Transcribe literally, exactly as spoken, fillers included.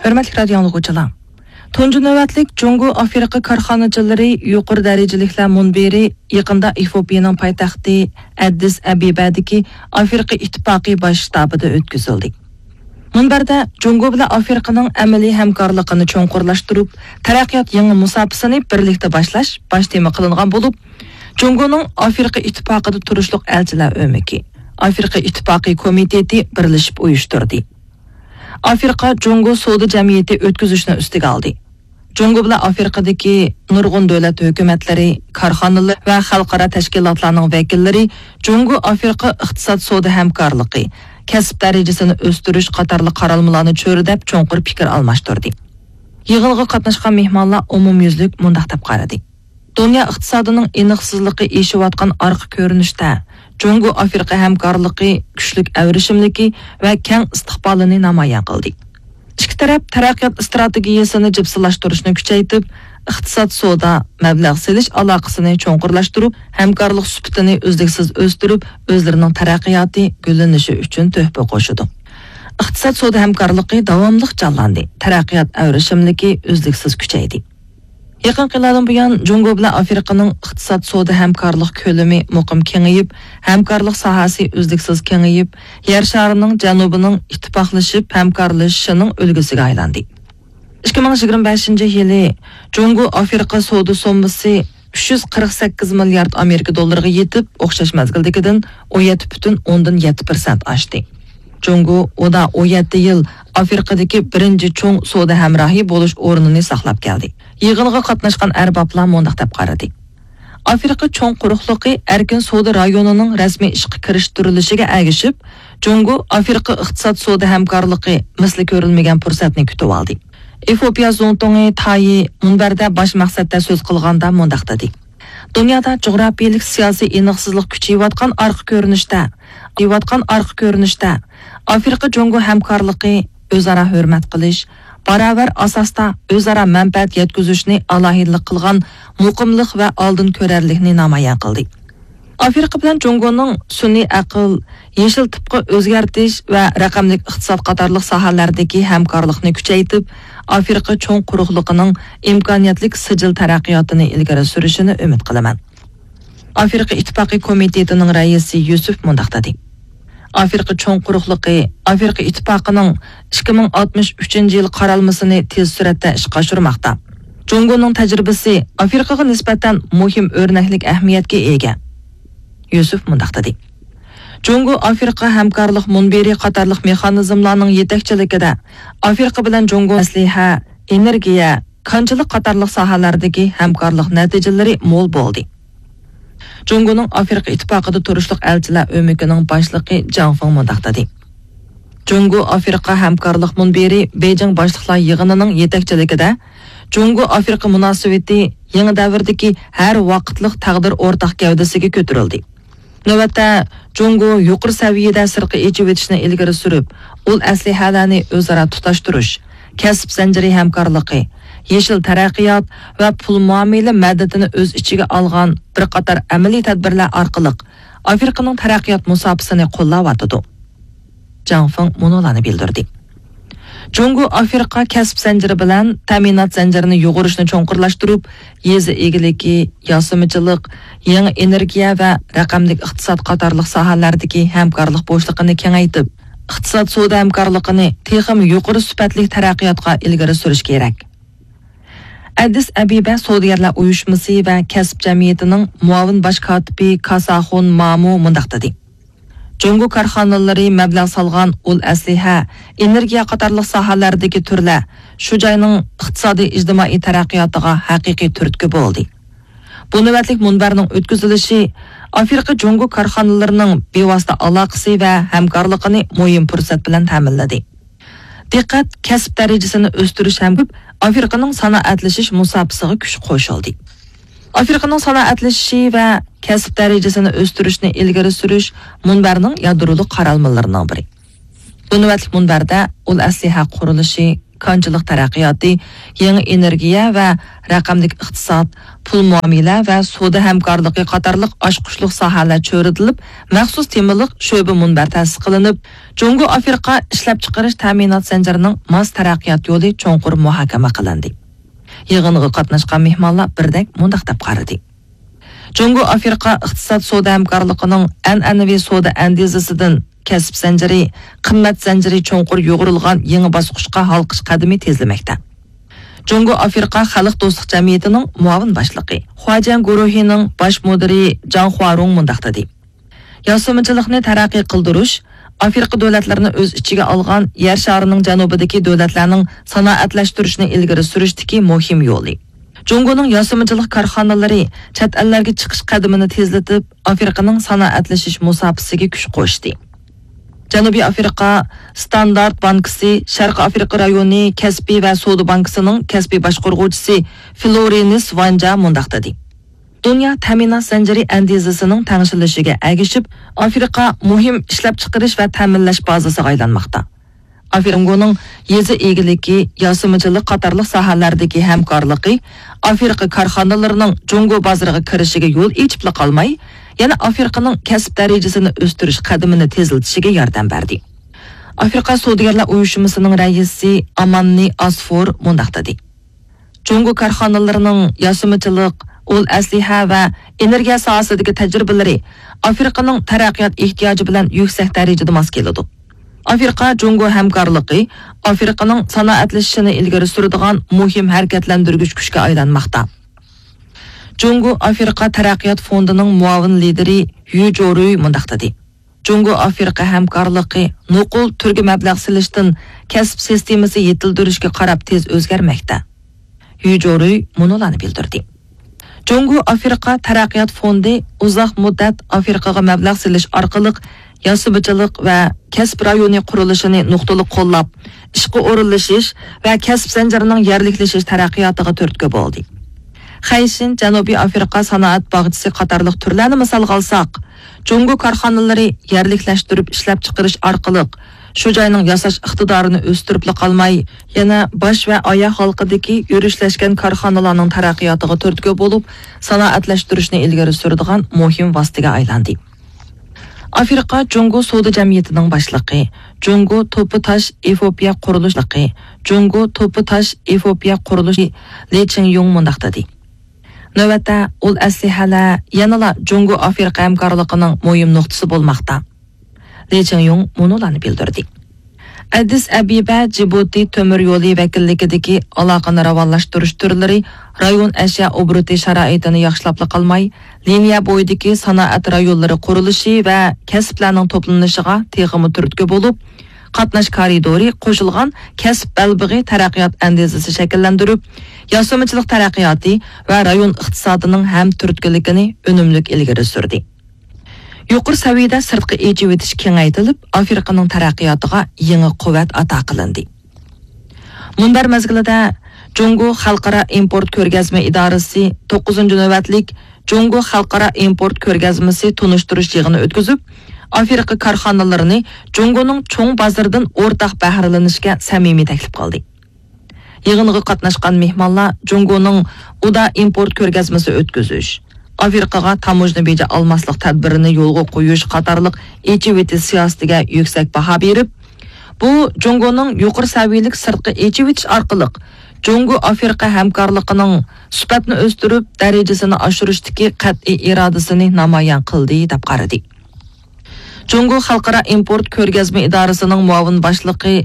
ھۆرمەتلىك رادىيو ئاڭلىغۇچىلار، تۇنجى نۆۋەتلىك جۇڭگو ئافرىقا كارخانىچىلىرى يۇقىرى دەرىجىلىكلەر مۇنبىرى يېقىندا ئېفىئوپىيەنىڭ پايتەختى ئەددىس ئەبىبەدىكى ئافرىقا ئىتتىپاقى باش شتابىدا ئۆتكۈزۈلدى. مۇنبەردە جۇڭگو بىلەن ئافرىقىنىڭ ئەمەلىي ھەمكارلىقىنى چوڭقۇرلاشتۇرۇپ، تەرەققىيات يېڭى مۇساپىسىنى بىرلىكتە باشلاش باش تېما قىلىنغان بولۇپ، جۇڭگونىڭ ئافرىقا ئىتتىپاقىدا تۇرۇشلۇق ئەلچىلەر ئۆمىكى، ئافرىقا ئىتتىپاقى كومىتېتى بىرلىشىپ ئۇيۇشتۇردى. ئافرىقا جۇڭگو سودا جەمئىيىتى ئۆتكۈزۈشنى ئۈستىگە ئالدى. جۇڭگو بىلەن ئافرىقىدىكى نۇرغۇن دۆلەت ھۆكۈمەتلىرى، كارخانىلار ۋە خەلقئارا تەشكىلاتلارنىڭ ۋەكىللىرى جۇڭگو ئافرىقا ئىقتىساد سودا ھەمكارلىقى، كەسىپ دەرىجىسىنى ئۆستۈرۈش قاتارلىق قارالمىلارنى چۆرىدەپ چوڭقۇر پىكىر ئالماشتۇردى. يىغىنغا قاتناشقان مېھمانلار ئومۇميۈزلۈك مۇنداق دەپ قارىدى. دۇنيا ئىقتىسادىنىڭ ئېنىقسىزلىقى ئېشىۋاتقان ئارقا كۆرۈنۈشتە، جۇڭگو ئافرىقا ھەمكارلىقى كۈچلۈك ئەۋرىشىملىكى ۋە كەڭ ئىستىقبالىنى نامايان قىلدى. ئىككى تەرەپ تەرەققىيات ئىستراتېگىيەسىنى جىپسىلاشتۇرۇشنى كۈچەيتىپ، ئىقتىساد، سودا، مەبلەغ سېلىش ئالاقىسىنى چوڭقۇرلاشتۇرۇپ، ھەمكارلىق سۈپىتىنى ئۈزلۈكسىز ئۆستۈرۈپ، ئۆزلىرىنىڭ تەرەققىياتى، گۈللىنىشى ئۈچۈن تۆھپە قوشىدۇ. ئىقتىساد، سودا ھەمكارلىقى داۋاملىق جانلاندى، تەرەققىيات ئەۋرىشىملىكى ئۈزلۈكسىز كۈچەيدى. يېقىنقى يىللاردىن بۇيان، جۇڭگو بىلەن ئافرىقىنىڭ ئىقتىساد، سودا ھەمكارلىق كۆلىمى مۇقىم كېڭىيىپ، ھەمكارلىق ساھەسى ئۈزلۈكسىز كېڭىيىپ، يەر شارىنىڭ جەنۇبىنىڭ ئىتتىپاقلىشىپ ھەمكارلىشىشىنىڭ ئۈلگىسىگە ئايلاندى. ئىككى مىڭ يىگىرمە بەشىنچى يىلى جۇڭگو ئافرىقا سودا سوممىسى ئۈچ يۈز قىرىق سەككىز مىليارد ئامېرىكا دوللىرىغا يېتىپ، ئوخشاش مەزگىلدىكىدىن ئون يەتتە پۈتۈن ئوندىن يەتتە پىرسەنت ئاشتى. جۇڭگو ئۇدا ئون يەتتە يىل ئافرىقىدىكى بىرىنچى چوڭ سودا ھەمراھى بولۇش ئورنىنى ساقلاپ كەلدى. يىغىنغا قاتناشقان ئەربابلار مۇنداق دەپ قارىدى. ئافرىقا چوڭ قۇرۇقلۇقى ئەركىن سودا رايونىنىڭ رەسمىي ئىشقا كىرىشتۈرۈلۈشىگە ئەگىشىپ، جۇڭگو ئافرىقا ئىقتىساد سودا ھەمكارلىقى مىسلى كۆرۈلمىگەن پۇرسەتنى كۈتۈۋالدى. ئېفىئوپىيە زۇڭتۇڭى تايى مۇنبەردە باش مەقسەتتە سۆز قىلغاندا مۇنداق دېدى. دۇنيادا جۇغراپىيەلىك سىياسىي ئېنىقسىزلىق كۈچىيىۋاتقان ئارقا كۆرۈنۈشتە، كۈچىيىۋاتقان ئارقا كۆرۈنۈشتە، ئافرىقا جۇڭگو ھەمكارلىقى ئۆزئارا ھۆرمەت قىلىش، باراۋەر ئاساستا ئۆزئارا مەنپەئەت يەتكۈزۈشنى ئالاھىدىلىك قىلغان مۇقىملىق ۋە ئالدىن كۆرەرلىكنى نامايان قىلدى. ئافرىقا بىلەن جۇڭگونىڭ سۈنئىي ئەقىل، يېشىل تىپقا ئۆزگەرتىش ۋە رەقەملىك ئىقتىساد قاتارلىق ساھەلەردىكى ھەمكارلىقنى كۈچەيتىپ، ئافرىقا چوڭ قۇرۇقلۇقىنىڭ ئىمكانىيەتلىك سىجىل تەرەققىياتىنى ئىلگىرى سۈرۈشىنى ئۈمىد قىلىمەن. ئافرىقا ئىتتىپاقى كومىتېتىنىڭ رەئىسى يۈسۈف مۇنداق دېدى. ئافرىقا چوڭ قۇرۇقلۇقى ئافرىقا ئىتتىپاقىنىڭ ئىككى مىڭ ئاتمىش ئۈچىنچى يىل قارالمىسىنى تېز سۈرئەتتە ئىشقا ئاشۇرماقتا. جۇڭگونىڭ تەجرىبىسى ئافرىقىغا نىسبەتەن مۇھىم ئۆرنەكلىك ئەھمىيەتكە ئىگە. يۈسۈف مۇنداق دېدى. جۇڭگو ئافرىقا ھەمكارلىق مۇنبىرى قاتارلىق مېخانىزملارنىڭ يېتەكچىلىكىدە ئافرىقا بىلەن جۇڭگو ئەسلىھە، ئېنېرگىيە، كانچىلىق قاتارلىق ساھەلەردىكى ھەمكارلىق نەتىجىلىرى مول بولدى. جۇڭگونىڭ ئافرىقا ئىتتىپاقىدا تۇرۇشلۇق ئەلچىلەر ئۆمىكىنىڭ باشلىقى جاڭ فېڭ مۇنداق دېدى. جۇڭگو ئافرىقا ھەمكارلىق مۇنبىرى بېيجىڭ باشلىقلار يىغىنىنىڭ يېتەكچىلىكىدە جۇڭگو ئافرىقا مۇناسىۋىتى يېڭى دەۋردىكى ھەر ۋاقىتلىق تەقدىر ئورتاق گەۋدىسىگە كۆتۈرۈلدى. نۆۋەتتە، جۇڭگو يۇقىرى سەۋىيەدە سىرتقا ئېچىۋېتىشنى ئىلگىرى سۈرۈپ، ئۇل ئەسلىھەلەرنى ئۆزئارا تۇتاشتۇرۇش، كەسىپ زەنجىرى ھەمكارلىقى، يېشىل تەرەققىيات ۋە پۇل مۇئامىلە مەدەتىنى ئۆز ئىچىگە ئالغان بىر قاتار ئەمەلىي تەدبىرلەر ئارقىلىق ئافرىقىنىڭ تەرەققىيات مۇساپىسىنى قوللاۋاتىدۇ. جاڭ فېڭ مۇنۇلارنى بىلدۈردى. جۇڭگو ئافرىقا كەسىپ زەنجىرى بىلەن تەمىنات زەنجىرىنى يۇغۇرۇشنى چوڭقۇرلاشتۇرۇپ، يېزا ئىگىلىكى، ياسىمىچىلىق، يېڭى ئېنېرگىيە ۋە رەقەملىك ئىقتىساد قاتارلىق ساھەلەردىكى ھەمكارلىق بوشلۇقىنى كېڭەيتىپ، ئىقتىساد سودا ھەمكارلىقىنى تېخىمۇ يۇقىرى سۈپەتلىك تەرەققىياتقا ئىلگىرى سۈرۈش كېرەك. ئەدىس ئەبىبە سودىگەرلەر ئۇيۇشمىسى ۋە كەسىپ جەمئىيىتىنىڭ مۇئاۋىن باش كاتىپى كاساخۇن مامۇ مۇنداق دېدى. جۇڭگو كارخانىلىرى مەبلەغ سالغان ئۇل ئەسلىھە، ئېنېرگىيە قاتارلىق ساھەلەردىكى تۈرلەر شۇ جاينىڭ ئىقتىسادىي ئىجتىمائىي تەرەققىياتىغا ھەقىقىي تۈرتكە بولدى. بۇ نۆۋەتلىك مۇنبەرنىڭ ئۆتكۈزۈلۈشى ئافرىقا جۇڭگو كارخانىلىرىنىڭ بىۋاسىتە ئالاقىسى ۋە ھەمكارلىقىنى مۇھىم پۇرسەت بىلەن تەمىنلىدى. دىققەت كەسىپ دەرىجىسىنى ئۆستۈرۈش ھەم ئافرىقىنىڭ سانائەتلىشىش مۇساپىسىغا كۈچ قوشۇلدى. ئافرىقىنىڭ سانائەتلىشىشى ۋە كەسىپ دەرىجىسىنى ئۆستۈرۈشنى ئىلگىرى سۈرۈش مۇنبەرنىڭ يادرولۇق قارالمىلىرىنىڭ بىرى. بۇ نۆۋەتلىك مۇنبەردە ئۇل ئەسلىھە قۇرۇلۇشى، كانچىلىق تەرەققىياتى، يېڭى ئېنېرگىيە ۋە رەقەملىك ئىقتىساد، پۇل مۇئامىلە ۋە سودا ھەمكارلىقى قاتارلىق ئاچقۇچلۇق ساھەلەر چۆرىدىلىپ، مەخسۇس تېمىلىق شۆبە مۇنبەر تەسىس قىلىنىپ، جۇڭگو ئافرىقا ئىشلەپچىقىرىش تەمىنات زەنجىرىنىڭ ماس تەرەققىيات يولى چوڭقۇر مۇھاكىمە قىلىندى. يىغىنغا قاتناشقان مېھمانلار بىردەك مۇنداق دەپ قارىدى: جۇڭگو ئافرىقا ئىقتىساد سودا ھەمكارلىقىنىڭ ئەنئەنىۋى سودا ئەندىزىسىدىن كەسىپ زەنجىرى، قىممەت زەنجىرى چوڭقۇر يۇغۇرۇلغان يېڭى باسقۇچقا ھالقىش قەدىمى تېزلىمەكتە. جۇڭگو ئافرىقا خەلق دوستلۇق جەمئىيىتىنىڭ مۇئاۋىن باشلىقى، خۇاجيەن گۇرۇھىنىڭ باش مۇدىرى جاڭ خۇارۇڭ مۇنداق دېدى: ياسىمىچىلىقنى تەرەققىي قىلدۇرۇش ئافرىقا دۆلەتلىرىنى ئۆز ئىچىگە ئالغان يەر شارىنىڭ جەنۇبىدىكى دۆلەتلەرنىڭ سانائەتلەشتۈرۈشىنى ئىلگىرى سۈرۈشتىكى مۇھىم يولى. جۇڭگونىڭ ياسىمىچىلىق كارخانىلىرى چەت ئەللەرگە چىقىش قەدىمىنى تېزلىتىپ، ئافرىقىنىڭ سانائەتلىشىش مۇساپىسىگە كۈچ قوشتى. جەنۇبىي ئافرىقا ستاندارت بانكىسى شەرقىي ئافرىقا رايونى كەسپىي ۋە سودا بانكىسىنىڭ كەسپىي باشقۇرغۇچىسى فلورىنىس ۋانجا مۇنداق دېدى: دۇنيا تەمىنات زەنجىرى ئەندىزىسىنىڭ تەڭشىلىشىگە ئەگىشىپ، ئافرىقا مۇھىم ئىشلەپچىقىرىش ۋە تەمىنلەش بازىسىغا ئايلانماقتا. ئافرىقا جۇڭگونىڭ يېزا ئىگىلىكى، ياسىمىچىلىق قاتارلىق ساھەلەردىكى ھەمكارلىقى ئافرىقا كارخانىلىرىنىڭ جۇڭگو بازىرىغا كىرىشىگە يول ئېچىپلا قالماي، يەنە ئافرىقىنىڭ كەسىپ دەرىجىسىنى ئۆستۈرۈش قەدىمىنى تېزلىتىشىگە ياردەم بەردى. ئافرىقا سودىگەرلەر ئۇيۇشمىسىنىڭ رەئىسى ئاماننى ئاسفور مۇنداق دېدى: جۇڭگو كارخانىلىرىنىڭ ياسىمىچىلىق، ئۇل ئەسلىھە ۋە ئېنېرگىيە ساھەسىدىكى تەجرىبىلىرى ئافرىقىنىڭ تەرەققىيات ئېھتىياجى بىلەن يۈكسەك دەرىجىدە ماس كېلىدۇ. ئافرىقا جۇڭگو ھەمكارلىقى ئافرىقىنىڭ سانائەتلىشىشىنى ئىلگىرى سۈرىدىغان مۇھىم ھەرىكەتلەندۈرگۈچ كۈچكە ئايلانماقتا. جۇڭگو ئافرىقا تەرەققىيات فوندىنىڭ مۇئاۋىن لىدىرى يۈ جورۇي مۇنداق دېدى: جۇڭگو ئافرىقا ھەمكارلىقى نوقۇل تۈرگە مەبلەغ سېلىشتىن كەسىپ سىستېمىسى يېتىلدۈرۈشكە قاراپ تېز ئۆزگەرمەكتە. يۈ جورۇي مۇنۇلارنى بىلدۈردى: جۇڭگو ئافرىقا تەرەققىيات فوندى ئۇزاق مۇددەت ئافرىقىغا مەبلەغ سېلىش ئارقىلىق ياسىمىچىلىق ۋە كەسىپ رايونى قۇرۇلۇشىنى نۇقتىلىق قوللاپ، ئىشقا ئورۇنلىشىش ۋە كەسىپ زەنجىرىنىڭ يەرلىكلىشىش تەرەققىياتىغا تۈرتكە بولدى. خەيشىن جەنۇبىي ئافرىقا سانائەت باغچىسى قاتارلىق تۈرلەرنى مىسالغا ئالساق، جۇڭگو كارخانىلىرى يەرلىكلەشتۈرۈپ ئىشلەپچىقىرىش ئارقىلىق شۇ جاينىڭ ياساش ئىقتىدارىنى ئۆستۈرۈپلا قالماي، يەنە باش ۋە ئاياغ ھالقىدىكى يۈرۈشلەشكەن كارخانىلارنىڭ تەرەققىياتىغا تۈرتكە بولۇپ، سانائەتلەشتۈرۈشنى ئىلگىرى سۈرىدىغان مۇھىم ۋاسىتىگە ئايلاندى. ئافرىقا جۇڭگو سودا جەمئىيىتىنىڭ باشلىقى، جۇڭگو توپا تاش ئېفىئوپىيە قۇرۇلۇشلىقى، جۇڭگو توپا تاش ئېفىئوپىيە قۇرۇلۇشى لى چىڭيۇڭ مۇنداق دېدى: نۆۋەتتە ئۇل ئەسلىھەلەر يەنىلا جۇڭگو ئافرىقا ھەمكارلىقىنىڭ مۇھىم نۇقتىسى بولماقتا. لى چىڭيۇڭ مۇنۇلارنى بىلدۈردى: ئەدىس ئەبىبە جىبۇتى تۆمۈر يولى ۋەكىللىكىدىكى ئالاقىنى راۋانلاشتۇرۇش تۈرلىرى رايون ئەشيا ئوبوروتى شارائىتىنى ياخشىلاپلا قالماي، لىنىيە بويىدىكى سانائەت رايونلىرى قۇرۇلۇشى ۋە كەسىپلەرنىڭ توپلىنىشىغا تېخىمۇ تۈرتكە بولۇپ، قاتناش كارىدورى قوشۇلغان كەسىپ بەلبېغى تەرەققىيات ئەندىزىسى شەكىللەندۈرۈپ، ياسىمىچىلىق تەرەققىياتى ۋە رايون ئىقتىسادىنىڭ ھەم تۈرتكىلىكىنى ئۈنۈملۈك ئىلگىرى سۈردى. يۇقىرى سەۋىيەدە سىرتقا ئېچىۋېتىش كېڭەيتىلىپ، ئافرىقىنىڭ تەرەققىياتىغا يېڭى قۇۋۋەت ئاتا قىلىندى. مۇنبەر مەزگىلىدە جۇڭگو خەلقئارا ئىمپورت كۆرگەزمە ئىدارىسى توققۇزىنچى نۆۋەتلىك جۇڭگو خەلقئارا ئىمپورت كۆرگەزمىسى تونۇشتۇرۇش يىغىنى ئۆتكۈزۈپ، ئافرىقا كارخانىلىرىنى جۇڭگونىڭ چوڭ بازىرىدىن ئورتاق بەھرىلىنىشكە سەمىمىي تەكلىپ قىلدى. يىغىنغا قاتناشقان مېھمانلار جۇڭگونىڭ ئۇدا ئىمپورت كۆرگەزمىسى ئۆتكۈزۈش، ئافرىقىغا تاموژنا بېجى ئالماسلىق تەدبىرىنى يولغا قويۇش قاتارلىق ئېچىۋېتىش سىياسىتىگە يۈكسەك باھا بېرىپ، بۇ جۇڭگونىڭ يۇقىرى سەۋىيەلىك سىرتقا ئېچىۋېتىش ئارقىلىق جۇڭگو ئافرىقا ھەمكارلىقىنىڭ سۈپەتنى ئۆستۈرۈپ، دەرىجىسىنى ئاشۇرۇشتىكى قەتئىي ئىرادىسىنى نامايان قىلدى، دەپ قارىدى. جۇڭگو خەلقئارا ئىمپورت كۆرگەزمە ئىدارىسىنىڭ مۇئاۋىن باشلىقى